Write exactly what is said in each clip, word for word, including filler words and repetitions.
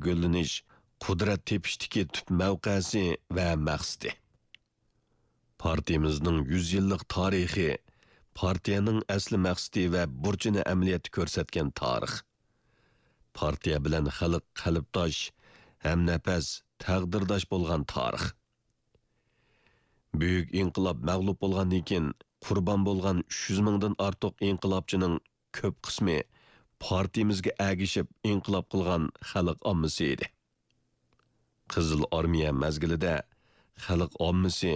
گۈللىنىش، قۇدرەت تېپىشتىكى تۈپ مەۋقەسى ۋە مەقسىتى. پارتىيىمىزنىڭ يۈز يىللىق تارىخى پارتىيەنىڭ ئەسلى مەقسىتى ۋە بۇرچىنى ئەمەلىيەتتە كۆرسەتكەن تارىخ. پارتىيە بىلەن خەلق قەلبداش، ھەمنەپەس، تەقدىرداش بولغان تارىخ. بۈيۈك ئىنقىلاب مەغلۇپ بولغاندىن كېيىن، قۇربان بولغان ئۈچ يۈز مىڭدىن ئارتۇق ئىنقىلابچىنىڭ كۆپ قىسمى پارتىيىمىزگە ئەگىشىپ ئىنقىلاب قىلغان خەلق ئاممىسى ئىدى. قىزىل ئارمىيە مەزگىلىدە خەلق ئاممىسى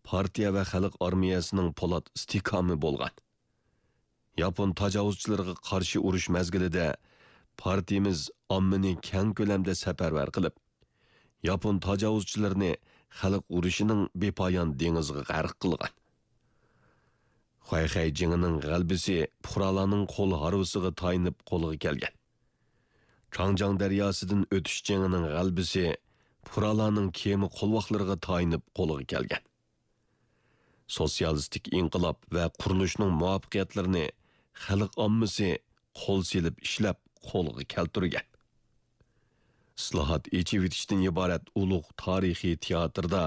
پارتىيە ۋە خەلق ئارمىيەسىنىڭ پولات ئىستىھكامى بولغان. ياپون تاجاۋۇزچىلىرىغا قارشى ئۇرۇش مەزگىلىدە پارتىيىمىز ئاممىنى كەڭ كۆلەمدە سەپەرۋەر قىلىپ، ياپون تاجاۋۇزچىلىرىنى خەلق ئۇرۇشىنىڭ بىپايان دېڭىزىغا غەرق قىلغان. خۇەيخەي جېڭىنىڭ غەلىبىسى پۇقرالارنىڭ قول ھارۋىسىغا تايىنىپ قولغا كەلگەن. چاڭجياڭ دەرياسىدىن ئۆتۈش جېڭىنىڭ غەلىبىسى پۇقرالارنىڭ كېمە قولۋاقلىرىغا تايىنىپ قولغا كەلگەن. سوتسىيالىستىك ئىنقىلاب ۋە قۇرۇلۇشنىڭ مۇۋەپپەقىيەتلىرىنى خەلق ئاممىسى قول سېلىپ ئىشلەپ قولغا كەلتۈرگەن. ئىسلاھات، ئېچىۋېتىشتىن ئىبارەت ئۇلۇغ تارىخىي تىياتىردا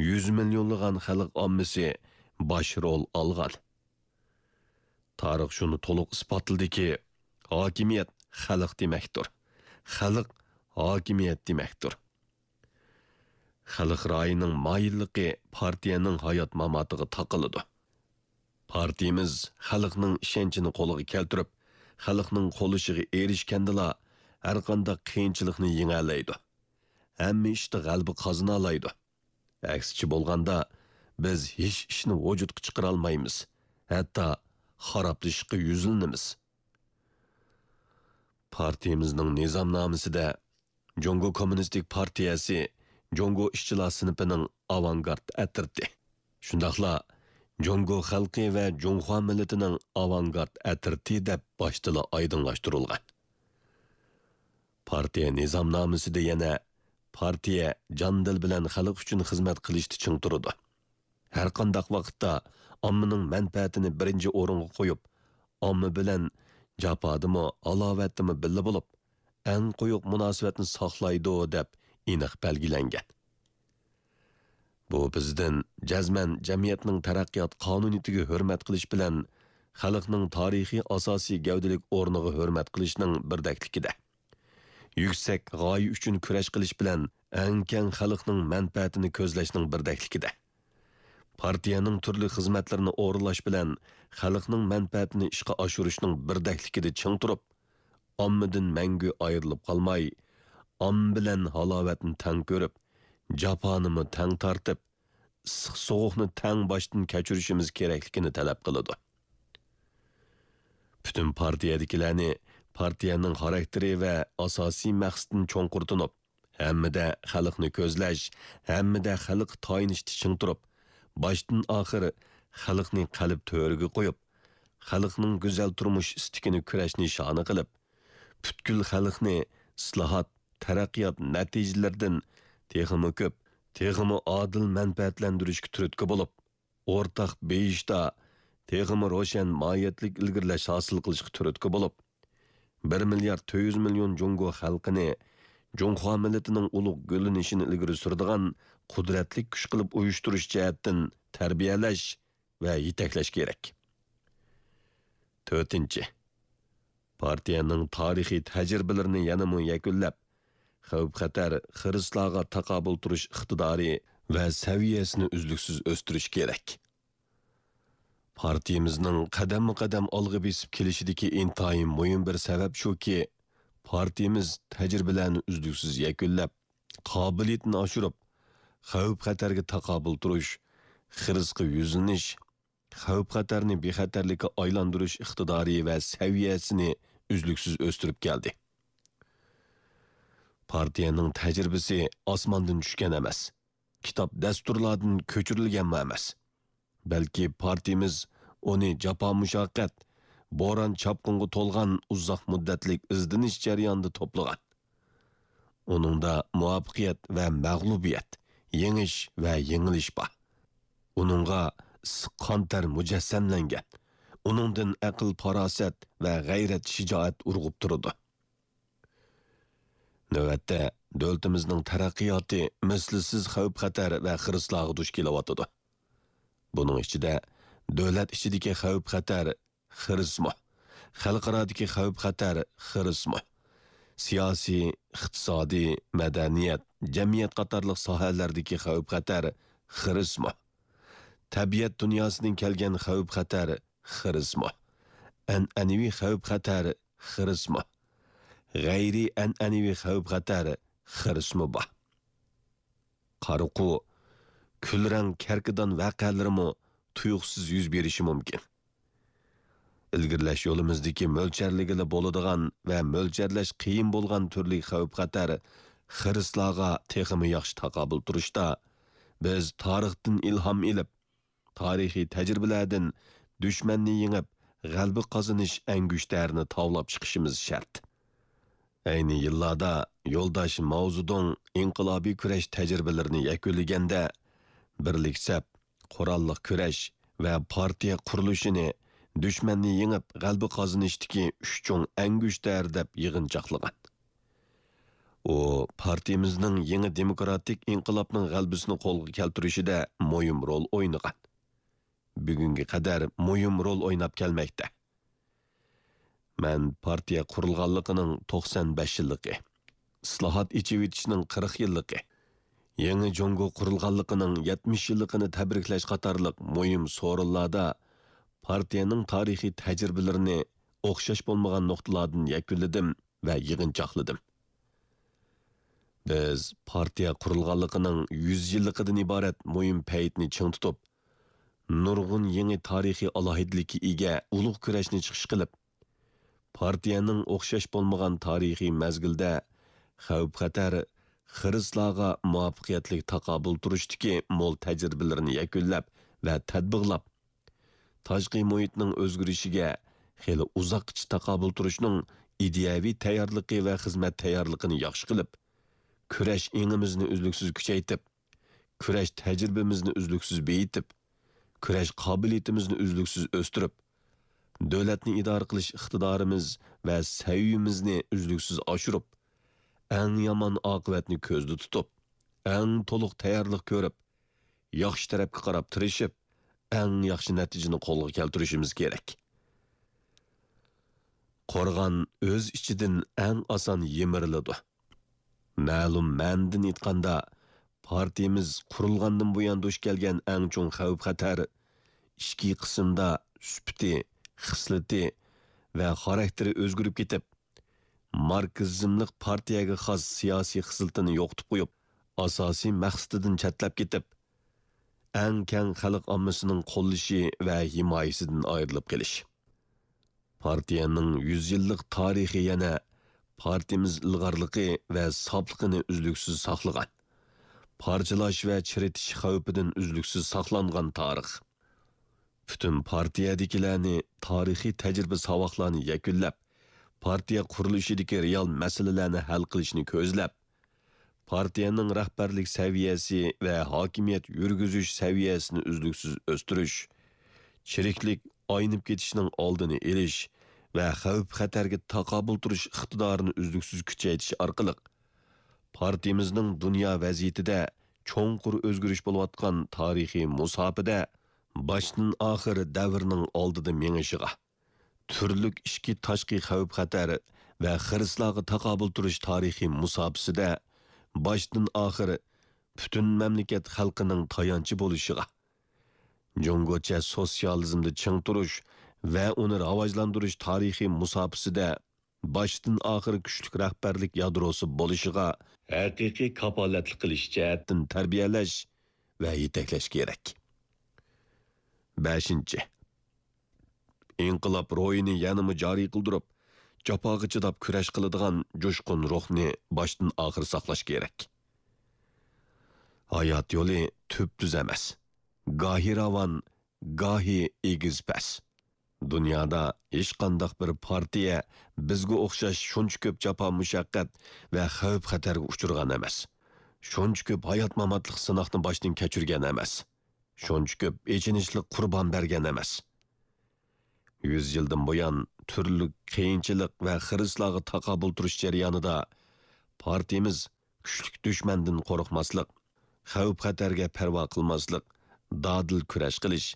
يۈز مىليونلىغان خەلق ئاممىسى باش رول ئالغان. تارىخ شۇنى تولۇق ئىسپاتلىدىكى، ھاكىمىيەت خەلق دېمەكتۇر، خەلق ھاكىمىيەت دېمەكتۇر. خەلق رايىنىڭ مايىللىقى پارتىيەنىڭ ھايات-ماماتىغا تاقىلىدۇ. پارتىيىمىز خەلقنىڭ ئىشەنچىنى قولغا كەلتۈرۈپ، خەلقنىڭ قوللىشىغا ئېرىشكەندىلا، ھەرقانداق قىيىنچىلىقنى يېڭەلەيدۇ. ھەممە ئىشتا غەلىبە قازىنالايدۇ. ئەكسىچە بولغاندا، بىز ھېچ ئىشنى ۋۇجۇدقا چىقىرالمايمىز، ھەتتا خارابلىشىشقا يۈزلىنىمىز. پارتىيىمىزنىڭ نىزامنامىسىدە جۇڭگو كوممۇنىستىك پارتىيەسى جۇڭگو ئىشچىلار سىنىپىنىڭ ئاۋانگارت ئەترىتى، شۇنداقلا جۇڭگو خەلقى ۋە جۇڭخۇا مىللىتىنىڭ ئاۋانگارت ئەترىتى دەپ باشتىلا ئايدىڭلاشتۇرۇلغان. پارتىيە نىزامنامىسىدە يەنە پارتىيە جان-دىل بىلەن خەلق ئۈچۈن خىزمەت قىلىشتا چىڭ تۇرىدۇ. ھەرقانداق ۋاقىتتا ئاممىنىڭ مەنپەئەتىنى بىرىنچى ئورۇنغا قويۇپ، ئامما بىلەن جاپادىمۇ، ھالاۋەتتىمۇ بىللە بولۇپ، ئەڭ قويۇق مۇناسىۋەتنى ساقلايدۇ، دەپ ئېنىق بەلگىلەنگەن. بۇ بىزدىن جەزمەن جەمئىيەتنىڭ تەرەققىيات قانۇنىيىتىگە ھۆرمەت قىلىش بىلەن خەلقنىڭ تارىخىي ئاساسىي گەۋدىلىك ئورنىغا ھۆرمەت قىلىشنىڭ بىردەكلىكىدە، يۈكسەك غايە ئۈچۈن كۈرەش قىلىش بىلەن ئەڭ كەڭ خەلقنىڭ مەنپەئەتىنى كۆزلەشنىڭ بىردەكلىكىدە، پارتىيەنىڭ تۈرلۈك خىزمەتلىرىنى ئورۇنلاش بىلەن خەلقنىڭ مەنپەئەتىنى ئىشقا ئاشۇرۇشنىڭ بىردەكلىكىدە چىڭ تۇرۇپ، ئاممىدىن مەڭگۈ ئايرىلىپ قالماي، ئامما بىلەن ھالاۋەتنى تەڭ كۆرۈپ، جاپانىمۇ تەڭ تارتىپ، ئىسسىق-سوغۇقنى تەڭ باشتىن كەچۈرۈشىمىز كېرەكلىكىنى تەلەپ قىلىدۇ. پۈتۈن پارتىيەدىكىلەرنى پارتىيەنىڭ خاراكتېرى ۋە ئاساسىي مەقسىتىنى چوڭقۇر تونۇپ، ھەممىدە خەلقنى كۆزلەش، ھەممىدە خەلققە تايىنىشتا چىڭ تۇرۇپ، باشتىن ئاخىر خەلقنى قەلب تۆرىگە قويۇپ، خەلقنىڭ گۈزەل تۇرمۇش ئىستىكىنى كۈرەش نىشانى قىلىپ، پۈتكۈل خەلقنى ئىسلاھات، تەرەققىيات نەتىجىلىرىدىن تېخىمۇ كۆپ، تېخىمۇ ئادىل مەنپەئەتلەندۈرۈشكە تۈرتكە بولۇپ، ئورتاق بېيىشتا تېخىمۇ روشەن ماھىيەتلىك ئىلگىرىلەش ھاسىل قىلىشقا تۈرتكە بولۇپ، بىر مىليارد تۆت يۈز مىليون جۇڭگو خەلقىنى جۇڭخۇا مىللىتىنىڭ ئۇلۇغ گۈللىنىشىنى ئىلگىرى سۈرىدىغان قۇدرەتلىك كۈچ قىلىپ ئۇيۇشتۇرۇش جەھەتتىن تەربىيەلەش ۋە يېتەكلەش كېرەك. تۆتىنچى، پارتىيەنىڭ تارىخىي تەجرىبىلىرىنى يەنىمۇ يەكۈنلەپ، خەۋپ-خەتەر، خىرىسلارغا تاقابىل تۇرۇش ئىقتىدارى ۋە سەۋىيەسىنى ئۈزلۈكسىز ئۆستۈرۈش كېرەك. پارتىيىمىزنىڭ قەدەممۇ قەدەم ئالغا بېسىپ كېلىشىدىكى ئىنتايىن مۇھىم بىر سەۋەب شۇكى، پارتىيىمىز تەجرىبىلەرنى ئۈزلۈكسىز يەكۈنلەپ، قابىلىيىتىنى ئاشۇرۇپ، خەۋپ-خەتەرگە تاقابىل تۇرۇش، خىرىسقا يۈزلىنىش، خەۋپ-خەتەرنى بىخەتەرلىككە ئايلاندۇرۇش ئىقتىدارى ۋە سەۋىيەسىنى ئۈزلۈكسىز ئۆستۈرۈپ كەلدى. پارتىيەنىڭ تەجرىبىسى ئاسماندىن چۈشكەن ئەمەس، كىتاب دەستۇرلاردىن كۆچۈرۈلگەنمۇ ئەمەس. بەلكى پارتىيىمىز ئۇنى جاپا-مۇشەققەت، بوران-چاپقۇنغا تولغان ئۇزاق مۇددەتلىك ئىزدىنىش جەريانىدا توپلىغان. ئۇنىڭدا مۇۋەپپەقىيەت ۋە مەغلۇبىيەت، يېڭىش ۋە يېڭىلىش بار. ئۇنىڭغا ئىسسىق قان-تەر مۇجەسسەملەنگەن. ئۇنىڭدىن ئەقىل-پاراسەت ۋە غەيرەت-شىجائەت ئۇرغۇپ تۇرىدۇ. نۆۋەتتە، دۆلىتىمىزنىڭ تەرەققىياتى مىسلىسىز خەۋپ-خەتەر ۋە خىرىسلارغا دۇچ كېلىۋاتىدۇ. بۇنىڭ ئىچىدە، دۆلەت ئىچىدىكى خەۋپ-خەتەر، خىرىسمۇ، خەلقئارادىكى خەۋپ-خەتەر، خىرىسمۇ، سىياسىي، ئىقتىسادىي، مەدەنىيەت، جەمئىيەت قاتارلىق ساھەلەردىكى خەۋپ-خەتەر، خىرىسمۇ، تەبىئەت دۇنياسىدىن كەلگەن خەۋپ-خەتەر، خىرىسمۇ، ئەنئەنىۋى خەۋپ-خەتەر، خىرىسمۇ، غەيرىي ئەنئەنىۋى خەۋپ-خەتەر، خىرىسمۇ بار. قارىقۇ، كۈلرەڭ كەركىدان ۋەقەلىرىمۇ تۇيۇقسىز يۈز بېرىشى مۇمكىن. ئىلگىرىلەش يولىمىزدىكى مۆلچەرلىگىلى بولىدىغان ۋە مۆلچەرلەش قىيىن بولغان تۈرلۈك خەۋپ-خەتەر، خىرىسلارغا تېخىمۇ ياخشى تاقابىل تۇرۇشتا، بىز تارىختىن ئىلھام ئېلىپ، تارىخىي تەجرىبىلەردىن دۈشمەننى يېڭىپ، غەلىبە قازىنىش ئەڭگۈشتەرىنى تاۋلاپ چىقىشىمىز شەرت. ئەينى يىللاردا يولداش ماۋزېدۇڭ ئىنقىلابىي كۈرەش تەجرىبىلىرىنى يەكۈنلىگەندە، بىرلىك سەپ، قوراللىق كۈرەش ۋە پارتىيە قۇرۇلۇشىنى دۈشمەننى يېڭىپ غەلىبە قازىنىشتىكى ئۈچ چوڭ ئەڭگۈشتەر دەپ يىغىنچاقلىغان. ئۇ پارتىيىمىزنىڭ يېڭى دېموكراتىك ئىنقىلابنىڭ غەلىبىسىنى قولغا كەلتۈرۈشىدە مۇھىم رول ئوينىغان. بۈگۈنگە قەدەر مۇھىم رول ئويناپ كەلمەكتە. مەن پارتىيە قۇرۇلغانلىقىنىڭ توقسان بەش يىللىقى، ئىسلاھات، ئېچىۋېتىشنىڭ قىرىق يىللىقى، يېڭى جۇڭگو قۇرۇلغانلىقىنىڭ يەتمىش يىللىقىنى تەبرىكلەش قاتارلىق مۇھىم سورۇنلاردا پارتىيەنىڭ تارىخىي تەجرىبىلىرىنى ئوخشاش بولمىغان نۇقتىلاردىن يەكۈنلىدىم ۋە يىغىنچاقلىدىم. بىز پارتىيە قۇرۇلغانلىقىنىڭ يۈز يىللىقىدىن ئىبارەت مۇھىم پەيتنى چىڭ تۇتۇپ، نۇرغۇن يېڭى تارىخىي ئالاھىدىلىككە ئىگە ئۇلۇغ كۈرەشنى چىقىش قىلىپ، پارتىيەنىڭ ئوخشاش بولمىغان تارىخىي مەزگىلدە خەۋپ-خەتەر، خىرىسلارغا مۇۋەپپەقىيەتلىك تاقابىل تۇرۇشتىكى مول تەجرىبىلىرىنى يەكۈنلەپ ۋە تەتبىقلاپ، تاشقى مۇھىتنىڭ ئۆزگىرىشىگە خېلى ئۇزاققىچە تاقابىل تۇرۇشنىڭ ئىدىيەۋى تەييارلىقى ۋە خىزمەت تەييارلىقىنى ياخشى قىلىپ، كۈرەش ئېڭىمىزنى ئۈزلۈكسىز كۈچەيتىپ، كۈرەش تەجرىبىمىزنى ئۈزلۈكسىز بېيىتىپ، كۈرەش قابىلىيىتىمىزنى ئۈزلۈكسىز ئۆستۈرۈپ، دۆلەتنى ئىدارە قىلىش ئىقتىدارىمىز ۋە سەۋىيىمىزنى ئۈزلۈكسىز ئاشۇرۇپ، ئەڭ يامان ئاقىۋەتنى كۆزدە تۇتۇپ، ئەڭ تولۇق تەييارلىق كۆرۈپ، ياخشى تەرەپكە قاراپ تىرىشىپ، ئەڭ ياخشى نەتىجىنى قولغا كەلتۈرۈشىمىز كېرەك. قورغان ئۆز ئىچىدىن ئەڭ ئاسان يىمىرىلىدۇ. مەلۇم مەنىدىن ئېيتقاندا، پارتىيىمىز قۇرۇلغاندىن بۇيان دۇچ كەلگەن ئەڭ چوڭ خەۋپ-خەتەر ئىچكى قىسىمدا سۈپىتى، خىسلىتى ۋە خاراكتېرى ئۆزگىرىپ كېتىپ، ماركسىزملىق پارتىيەگە خاس سىياسىي خىسلىتىنى يوقىتىپ قويۇپ، ئاساسىي مەقسىتىدىن چەتلەپ كېتىپ، ئەڭ كەڭ خەلق ئاممىسىنىڭ قوللىشى ۋە ھىمايىسىدىن ئايرىلىپ قېلىش. پارتىيەنىڭ يۈز يىللىق تارىخى يەنە پارتىيىمىز ئىلغارلىقى ۋە ساپلىقىنى ئۈزلۈكسىز ساقلىغان، پارچىلاش ۋە چىرىتىش خەۋپىدىن ئۈزلۈكسىز ساقلانغان تارىخ. پۈتۈن پارتىيەدىكىلەرنى تارىخىي تەجرىبە-ساۋاقلارنى يەكۈنلەپ، پارتىيە قۇرۇلۇشىدىكى رېئال مەسىلىلەرنى ھەل قىلىشنى كۆزلەپ، پارتىيەنىڭ رەھبەرلىك سەۋىيەسى ۋە ھاكىمىيەت يۈرگۈزۈش سەۋىيەسىنى ئۈزلۈكسىز ئۆستۈرۈش، چىرىكلىك، ئاينىپ كېتىشنىڭ ئالدىنى ئېلىش ۋە خەۋپ-خەتەرگە تاقابىل تۇرۇش ئىقتىدارىنى ئۈزلۈكسىز كۈچەيتىش ئارقىلىق، پارتىيىمىزنىڭ دۇنيا ۋەزىيىتىدە چوڭقۇر ئۆزگىرىش بولۇۋاتقان تارىخىي مۇساپىدە باشتىن ئاخىر دەۋرنىڭ ئالدىدا مېڭىشىغا، تۈرلۈك ئىچكى تاشقى خەۋپ-خەتەر ۋە خىرىسلارغا تاقابىل تۇرۇش تارىخىي مۇساپىسىدە باشتىن ئاخىر پۈتۈن مەملىكەت خەلقىنىڭ تايانچى بولۇشىغا، جۇڭگوچە سوتسىيالىزمدا چىڭ تۇرۇش ۋە ئۇنى راۋاجلاندۇرۇش تارىخىي مۇساپىسىدە باشتىن ئاخىر كۈچلۈك رەھبەرلىك يادروسى بولۇشىغا ھەقىقىي كاپالەتلىك قىلىش جەھەتتىن تەربىيەلەش ۋە يېتەكلەش كېرەك. بەشىنچى، ئىنقىلاب روھىنى يەنىمۇ جارى قىلدۇرۇپ، جاپاغا چىداپ كۈرەش قىلىدىغان جۇشقۇن روھنى باشتىن ئاخىر ساقلاش كېرەك. ھايات يولى تۈپتۈز ئەمەس. گاھى راۋان، گاھى ئېگىز-پەس. دۇنيادا ھېچقانداق بىر پارتىيە بىزگە ئوخشاش شۇنچە كۆپ جاپا-مۇشەققەت ۋە خەۋپ-خەتەرگە ئۇچرىغان ئەمەس. شۇنچە كۆپ ھايات-ماماتلىق سىناقنى باشتىن كەچۈرگەن ئەمەس. شۇنچە كۆپ ئېچىنىشلىق قۇربان بەرگەن ئەمەس. يۈز يىلدىن بۇيان تۈرلۈك قىيىنچىلىق ۋە خىرىسلارغا تاقابىل تۇرۇش جەريانىدا پارتىيىمىز كۈچلۈك دۈشمەندىن قورقماسلىق، خەۋپ-خەتەرگە پەرۋا قىلماسلىق، دادىل كۈرەش قىلىش،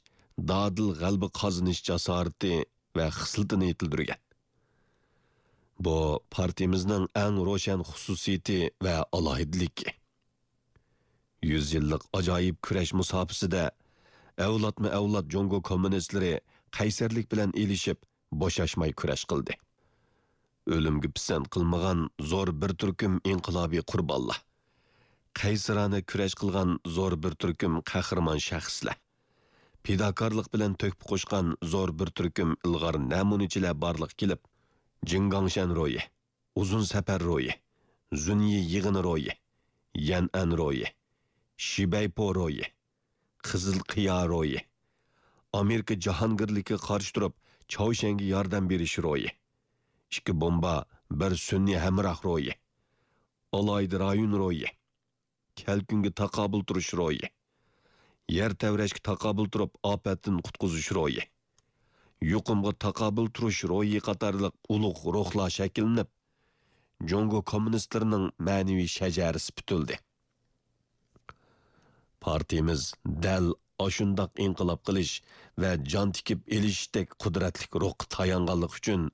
دادىل غەلىبە قازىنىش جاسارىتى ۋە خىسلىتىنى يېتىلدۈرگەن. بۇ پارتىيىمىزنىڭ ئەڭ روشەن خۇسۇسىيىتى ۋە ئالاھىدىلىكى. يۈز يىللىق ئاجايىپ كۈرەش مۇساپىسىدە ئەۋلادمۇ ئەۋلاد جۇڭگو كوممۇنىستلىرى قەيسەرلىك بىلەن ئېلىشىپ، بوشاشماي كۈرەش قىلدى. ئۆلۈمگە پىسەنت قىلمىغان زور بىر تۈركۈم ئىنقىلابىي قۇربانلار، قەيسىرانە كۈرەش قىلغان زور بىر تۈركۈم قەھرىمان شەخسلەر، پىداكارلىق بىلەن تۆھپە قوشقان زور بىر تۈركۈم ئىلغار نەمۇنىچىلەر بارلىققا كېلىپ، جىڭگاڭشەن روھى، ئۇزۇن سەپەر روھى، زۇنيى يىغىنى روھى، يەنئەن روھى، شىبەيپو روھى، قىزىل قىيا روھى، ئامېرىكا جاھانگىرلىكىگە قارشى تۇرۇپ، چاۋشيەنگە ياردەم بېرىش روھى، ئىككى بومبا، بىر سۈنئىي ھەمراھ روھى، ئالاھىدە رايون روھى، كەلكۈنگە تاقابىل تۇرۇش روھى، يەر تەۋرەشكە تاقابىل تۇرۇپ، ئاپەتتىن قۇتقۇزۇش روھى، يۇقۇمغا تاقابىل تۇرۇش روھى قاتارلىق ئۇلۇغ روھلار شەكىللىنىپ، جۇڭگو كوممۇنىستلىرىنىڭ مەنىۋى شەجەرىسى پۈتۈلدى. پارتىيىمىز دەل ئاشۇنداق ئىنقىلاب قىلىش ۋە جان تىكىپ ئېلىشتەك قۇدرەتلىك روھقا تايانغانلىقى ئۈچۈن،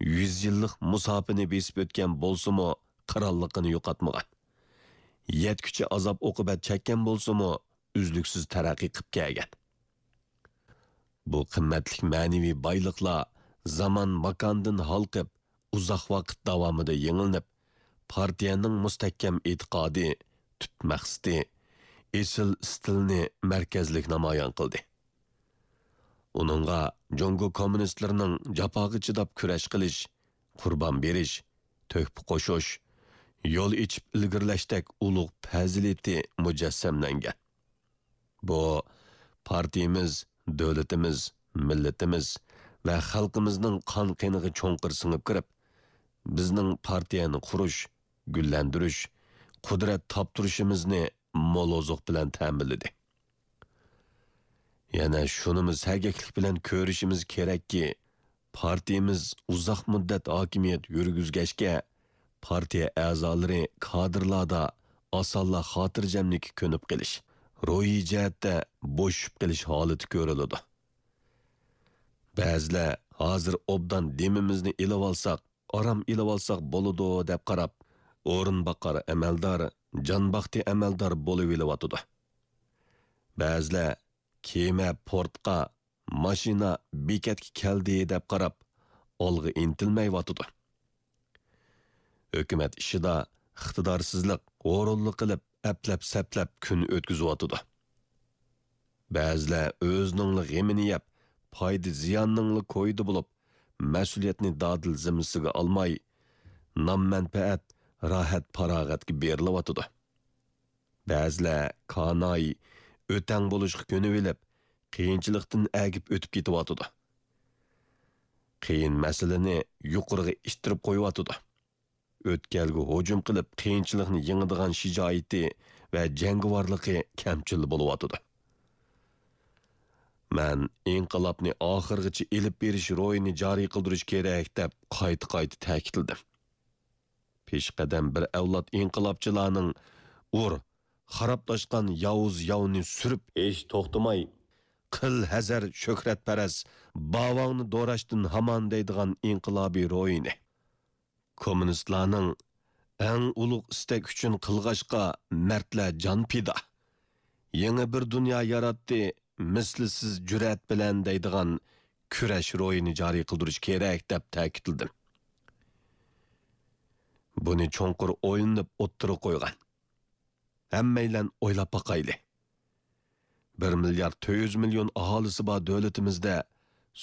يۈز يىللىق مۇساپىنى بېسىپ ئۆتكەن بولسىمۇ، قىرانلىقىنى يوقاتمىغان. يەتكۈچە ئازاب-ئوقۇبەت چەككەن بولسىمۇ، ئۈزلۈكسىز تەرەققىي قىپ كەلگەن. بۇ قىممەتلىك مەنىۋى بايلىقلار زامان-ماكاندىن ھالقىپ، ئۇزاق ۋاقىت داۋامىدا يېڭىلىنىپ، پارتىيەنىڭ مۇستەھكەم ئېتىقادى، تۈپ مەقسىتى، ئېسىل ئىستىلىنى مەركەزلىك نامايان قىلدى. ئۇنىڭغا جۇڭگو كوممۇنىستلىرىنىڭ جاپاغا چىداپ كۈرەش قىلىش، قۇربان بېرىش، تۆھپە قوشۇش، يول ئېچىپ ئىلگىرىلەشتەك ئۇلۇغ پەزىلىتى مۇجەسسەملەنگەن. بۇ، پارتىيىمىز، دۆلىتىمىز، مىللىتىمىز ۋە خەلقىمىزنىڭ قان-قېنىغا چوڭقۇر سىڭىپ كىرىپ، بىزنىڭ پارتىيەنى قۇرۇش، گۈللەندۈرۈش، قۇدرەت تاپتۇرۇشىمىزنى مول ئوزۇق بىلەن تەمىنلىدى. يەنە شۇنىمۇ سەگەكلىك بىلەن كۆرۈشىمىز كېرەككى، پارتىيىمىز ئۇزاق مۇددەت ھاكىمىيەت يۈرگۈزگەچكە، پارتىيە ئەزالىرى، كادىرلاردا ئاسانلا خاتىرجەملىككە كۆنۈپ قېلىش، روھىي جەھەتتە بوشىشىپ قېلىش ھالىتى كۆرۈلىدۇ. بەزىلەر ھازىر ئوبدان دېمىمىزنى ئېلىۋالساق، ئارام ئېلىۋالساق بولىدۇ دەپ قاراپ، ئورۇنباقار ئەمەلدار، جانباختى ئەمەلدار بولۇۋېلىۋاتىدۇ. بەزىلەر كېمە پورتقا، ماشىنا بېكەتكە كەلدى دەپ قاراپ، ئالغا ئىنتىلمەيۋاتىدۇ. ھۆكۈمەت ئىشىدا ئىقتىدارسىزلىق، ھۇرۇنلۇق قىلىپ، ئەپلەپ-سەپلەپ كۈن ئۆتكۈزۈۋاتىدۇ. بەزىلەر ئۆزىنىڭلا غېمىنى يەپ، پايدا-زىياننىڭلا كويىدا بولۇپ، مەسئۇلىيەتنى دادىل زىممىسىگە ئالماي، نام-مەنپەئەت، راھەت-پاراغەتكە بېرىلىۋاتىدۇ. بەزىلەر كاناي، ئۆتەڭ بولۇشقا كۆنۈۋېلىپ، قىيىنچىلىقتىن ئەگىپ ئۆتۈپ كېتىۋاتىدۇ. قىيىن مەسىلىنى يۇقىرىغا ئىتتىرىپ قويۇۋاتىدۇ. ئۆتكەلگە ھۇجۇم قىلىپ، قىيىنچىلىقنى يېڭىدىغان شىجائىتى ۋە جەڭگىۋارلىقى كەمچىل بولۇۋاتىدۇ. مەن ئىنقىلابنى ئاخىرغىچە ئېلىپ بېرىش روھىنى جارى قىلدۇرۇش كېرەك، دەپ قايتا-قايتا تەكىتلىدىم. پېشقەدەم بىر ئەۋلاد ئىنقىلابچىلارنىڭ «ئۇر، خارابلاشقان ياۋۇز ياۋنى سۈرۈپ ھېچ توختىماي، قىل ھەزەر شۆھرەتپەرەس، باۋاڭنى دوراشتىن ھامان» دەيدىغان ئىنقىلابىي روھىنى، كوممۇنىستلارنىڭ «ئەڭ ئۇلۇغ ئىستەك ئۈچۈن قىلغاچقا مەردلەر جان پىدا، يېڭى بىر دۇنيا ياراتتى مىسلىسىز جۈرئەت بىلەن» دەيدىغان كۈرەش روھىنى جارى قىلدۇرۇش كېرەك، دەپ تەكىتلىدىم. بۇنى چوڭقۇر ئويلىنىپ ئوتتۇرىغا قويغان. ھەممەيلەن ئويلاپ باقايلى. بىر مىليارد تۆت يۈز مىليون ئاھالىسى بار دۆلىتىمىزدە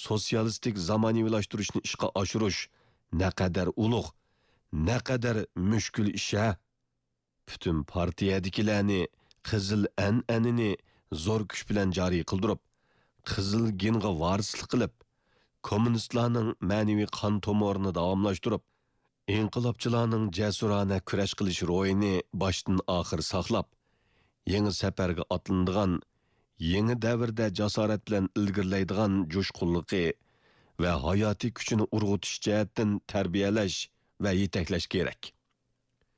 سوتسىيالىستىك زامانىۋىلاشتۇرۇشنى ئىشقا ئاشۇرۇش نەقەدەر ئۇلۇغ، نەقەدەر مۈشكۈل ئىش ھە! پۈتۈن پارتىيەدىكىلەرنى قىزىل ئەنئەنىنى زور كۈچ بىلەن جارى قىلدۇرۇپ، قىزىل گېنغا ۋارىسلىق قىلىپ، كوممۇنىستلارنىڭ مەنىۋى قان تومۇرىنى داۋاملاشتۇرۇپ، ئىنقىلابچىلارنىڭ جەسۇرانە كۈرەش قىلىش روھىنى باشتىن ئاخىر ساقلاپ، يېڭى سەپەرگە ئاتلىنىدىغان، يېڭى دەۋردە جاسارەت بىلەن ئىلگىرىلەيدىغان جۇشقۇنلۇقى ۋە ھاياتىي كۈچىنى ئۇرغۇتۇش جەھەتتىن تەربىيەلەش ۋە يېتەكلەش كېرەك.